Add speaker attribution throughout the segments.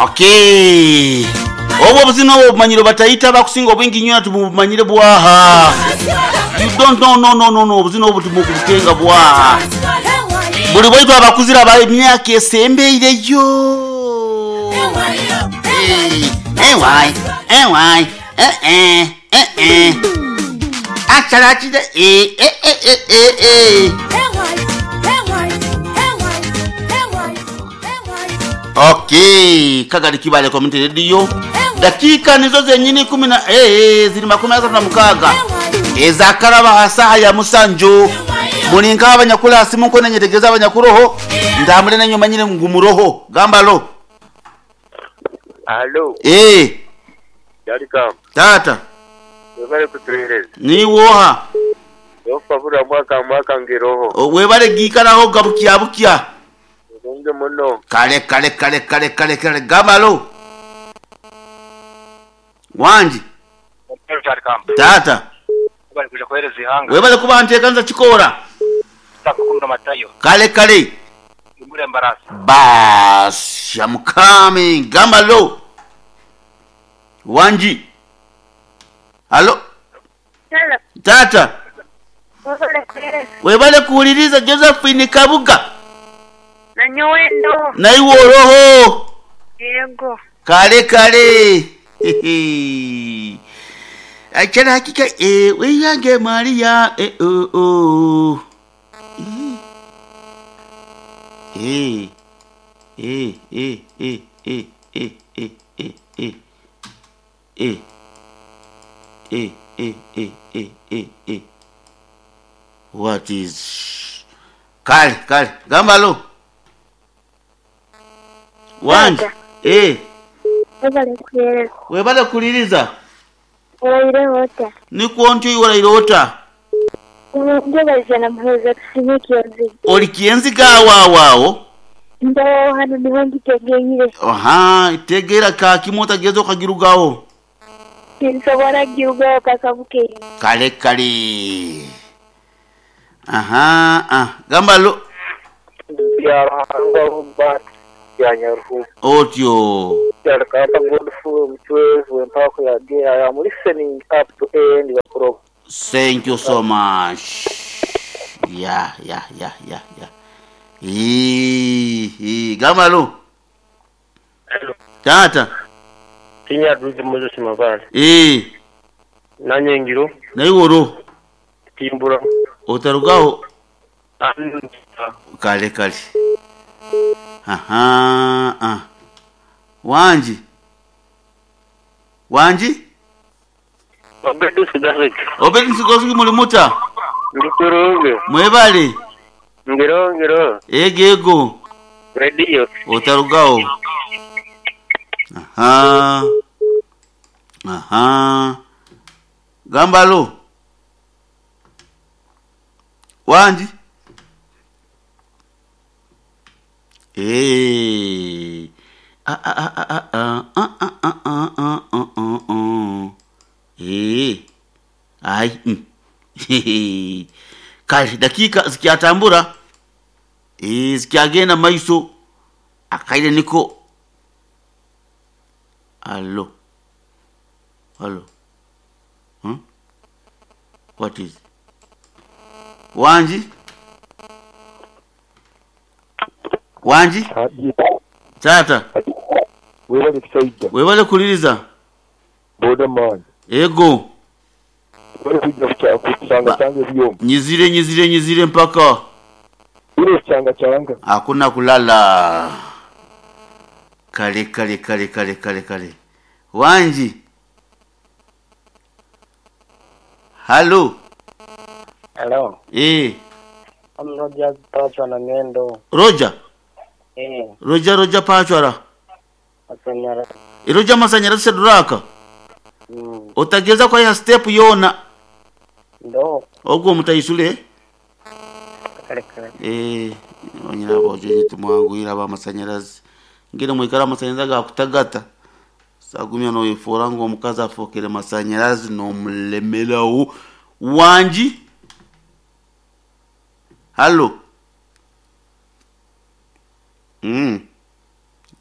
Speaker 1: Okay. Obwo obuzina obwo obumanyire batayita abakusinga obwingi nnyo tubumanyire bwaha. You don't know, no, no, no, no, obuzina obwo tumukubutenga bwaha. Buli bwaitu abakuzire aba emyaka esembeireyo. Eh, ewai, ewai, eh, eh, eh, eh. Achalachire, eh, eh, eh, eh, eh, eh. Okay, Kagari Kibale Community Radio. Dakika nizo zenyini kumi na ziri 36 ezakaraba hasaha ya musanju mulinka abanyakula asimu nko nenyetegeza abanyakuroho ndamule nenyuma nyine ngumuroho gambalo.
Speaker 2: Alo, Yarikam,
Speaker 1: Tata
Speaker 2: webale kutuhereza.
Speaker 1: niwoha
Speaker 2: Ofabura mwaka mwaka ngiroho.
Speaker 1: Webale gikaraho gabukya bukya.
Speaker 2: Nge muno.
Speaker 1: Kale kale kale kale kale kale gambalo wanji.
Speaker 3: Yarikam,
Speaker 1: Tata
Speaker 3: webale kuja kuhereza ihanga.
Speaker 1: Webale kuba ntekanza chikora.
Speaker 3: Takukunda matayo.
Speaker 1: Kale kale.
Speaker 3: Imure mbarasi.
Speaker 1: Bas, I'm coming. Gambalo. Wanji. Halo.
Speaker 4: Hello.
Speaker 1: Tata.
Speaker 4: Webale kuhereza.
Speaker 1: Webale kuwuliriza Josephine Kabuga.
Speaker 4: Nanyowe ndo.
Speaker 1: Naiwe oroho.
Speaker 4: Yego.
Speaker 1: Kale kale. Achana hakika weyange Maria oh oh. Eh. Eh eh eh eh eh eh eh eh. Eh. Eh eh eh eh eh eh. What is Kale kale gambalo. Wanji.
Speaker 4: Tata. Webale kuhereza.
Speaker 1: Webale kuliriza.
Speaker 4: Oraire ota.
Speaker 1: Nikuo ntyo iwalaire ota.
Speaker 4: Njebaza na muheza tusinye kiyanzi.
Speaker 1: Oli kienziga awo.
Speaker 4: Ndo hano niho ngitegeire.
Speaker 1: Aha, tegera ka kimwe otageza okagirugawo.
Speaker 4: Tinsobora girugaho paka bukeye.
Speaker 1: Kale kale. Aha, ah, gambalo.
Speaker 2: Ya Ruhanga Robert ya Nyaruhu.
Speaker 1: Otyo.
Speaker 2: Yarikamba Godfrey Mchwezi wempako ya D. I am listening up to end the program.
Speaker 1: Thank you so much. Yeah, yeah, yeah, yeah, yeah. Gambalo.
Speaker 2: Hello.
Speaker 1: Tata.
Speaker 2: Tinya duzi Moses Mabale. Nanye ngiro.
Speaker 1: Naiworo.
Speaker 2: Timbura.
Speaker 1: Otarugaho. Kale kale. Aha, ah. Wanji. Wanji?
Speaker 2: Obedu sigasiki.
Speaker 1: Obedi nsigosuki muli muta.
Speaker 2: Ndikurunge.
Speaker 1: Mwebale.
Speaker 2: Ngiro ngiro.
Speaker 1: Ego ego.
Speaker 2: Radio.
Speaker 1: Otarugaho. Aha. Aha. Gambalo. Wanji. Ah ah ah ah ah ah ah ah ah ah ah ah ah. Ai. Kale dakika zikyatambura. Zikyagenda maiso. Akaire niko. Allo. Allo. Huh? What is? Wanji? Wanji? Tata.
Speaker 5: Webale kusaija.
Speaker 1: Webale kuliriza.
Speaker 5: Boda man.
Speaker 1: Ego.
Speaker 5: Webale kuja kuchanga changa byombi.
Speaker 1: Nyizire nyizire nyizire mpaka.
Speaker 5: Ile changa changa.
Speaker 1: Hakuna kulala. Kale kale kale kale kale kale. Wanji. Halo.
Speaker 6: Hello. I'm Roger Pachwa na Ngendo.
Speaker 1: Roger. Roger Roger Pachwara.
Speaker 6: Masanyara.
Speaker 1: Roger Masanyara Seduraka. Otageza kwa ya step yona.
Speaker 6: Ndo.
Speaker 1: Ogwo mutayisule.
Speaker 6: Kale kale.
Speaker 1: Onyina bojo tumwanguira ba masanyarazi. Ngire mwikara masanyarazi gakutagata. Sagumya no yefora ngo omukazi afokere masanyarazi no mulemerawo. Wanji. Halo.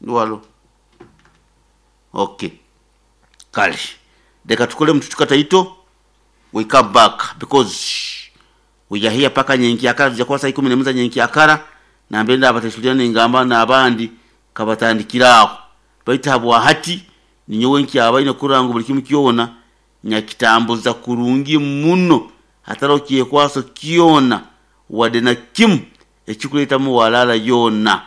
Speaker 1: Walo. Okay, kale leka tukole mututuka taito, we come back because we are here paka nyenkyakara. Tujja kuba saa 11 za nyenkyakara nambere ndabatesulira nengamba n'abandi kabatandikira aho, baitu habwahati ninyowe nkyabaine kurora ngu buli kimu kyona nyakitambuza kurungi muno, hatariho kyekwaso kyona wadde na kimu ekikuletamu walala yona.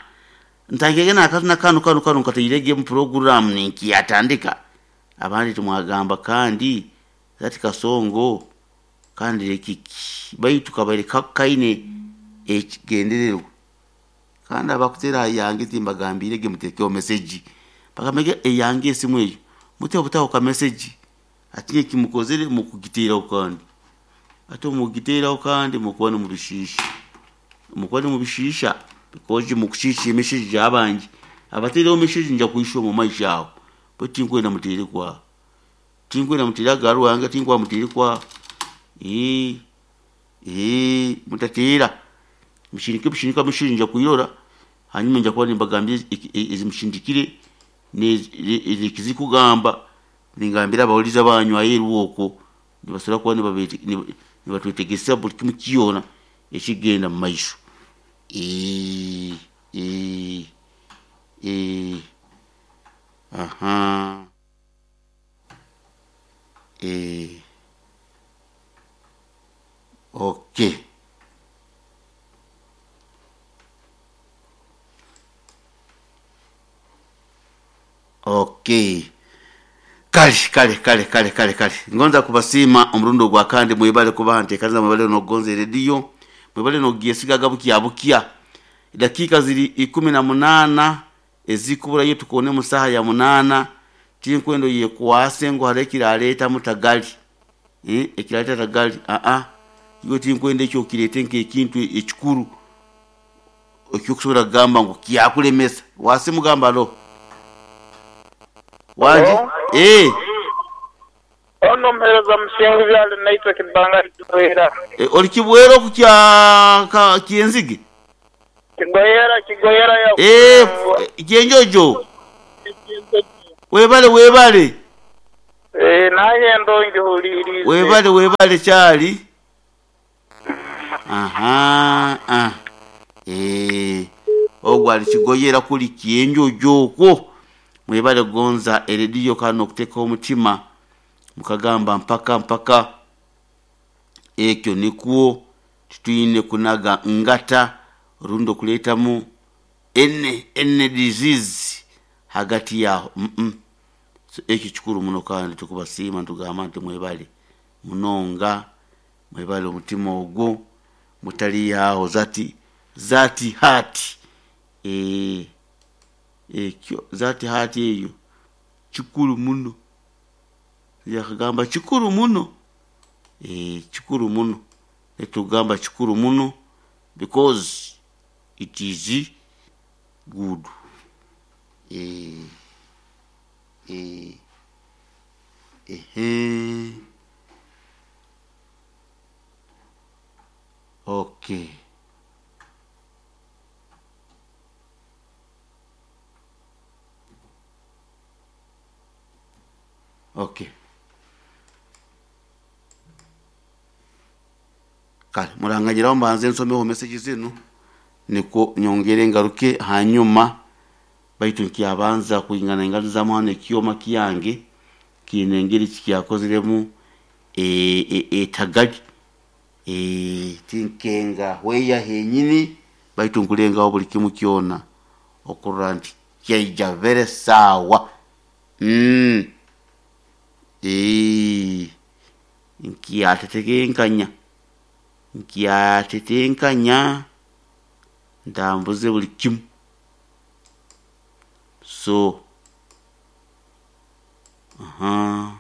Speaker 1: Ntangege nakazina kanu kanu kanu nkatairege mu program ninkiyatandika, abandi tumwagamba kandi zati kasongo kandi rekiki, baitu kabaire kaine ekigendererwa. Kandi abakutera yange timbagambirege mutekeho message, bakamege eyange esimu eyo mute obutaho ka message ati ekimukozere mukugiteraho, kandi ate mugiteraho kandi mukuba nimubishisha, mukuba nimubishisha because mukushisha emessage abangi abatereho message nja kuisha omu maisho aho bo. Tinkwenda mutere kwaho, tinkwenda mutere agaru wange, tinkwa mutere kwaho. Mutatera mushindike bushinika message nja kuirora hanyuma nja kuba nimbagambira ezimushindikire nekizikugamba, ningambira abawuliza banyu aheeru okwo nibasobora kuba nibatwetegesa buli kimu kyona ekigenda mu maisho. Aha, okay. Okay, kale kale kale kale kale kale, ngonza kubasiima omurundi ogwa kandi mwebale kubaha nteekaniza, mwebale nokugonza erediyo, mwebale nokugyesigaga bukya bukya. Dakiika ziri 18 ezikuburayo tukone mu saaha ya 8. Tinkwenda oyekwase ngu hariho ekiraleetamu tagali, ekiraleeta tagali, aa iwe tinkwenda ekyo okireete nk'ekintu ekikuru ekyokusobora kugamba ngu kyakulemesa. Wasimugamba alo wangi?
Speaker 2: Ono mpereza musingu byali naitwe kibanga kigoyera.
Speaker 1: Oli kibwera oku kya kyenzige?
Speaker 2: Kigoyera, kigoyera ya.
Speaker 1: Kyenjojo. Webale, webale.
Speaker 2: Naye ndongi hulirize.
Speaker 1: Webale, webale kyali. Aha. Ah. Ogwo ali kigoyera kuli kyenjojo okwo. Mwebale gonza erediyo kandi nokuteeka omutima mukagamba mpaka mpaka ekyo nikwo titwine kunaga ngata rundi okuleetamu ene disease hagati yaho. So ekyo kikuru muno kandi tukubasiima ntugamba nti mwebale munonga, mwebale omutima ogwo mutaliyaho zati zati hati ekyo zati hati eyo kikuru muno, yakagamba kikuru muno, kikuru muno, netugamba kikuru muno because it is good. Okay. Okay, kale muranganyiraho mbanze nsomeho message zinu niko nyongere ngaruke hanyuma, baitu nkyabanza kuingana inganizamu hano ekyoma kyange kiine engeri kikyakoziremu etagali, tinkenga hweya henyini, baitu nkulengaho buli kimu kyona okurora nti kyaija vere sawa. Nkyatetenkanya, nkyatetenkanya ntambuze buli kimu. So aha.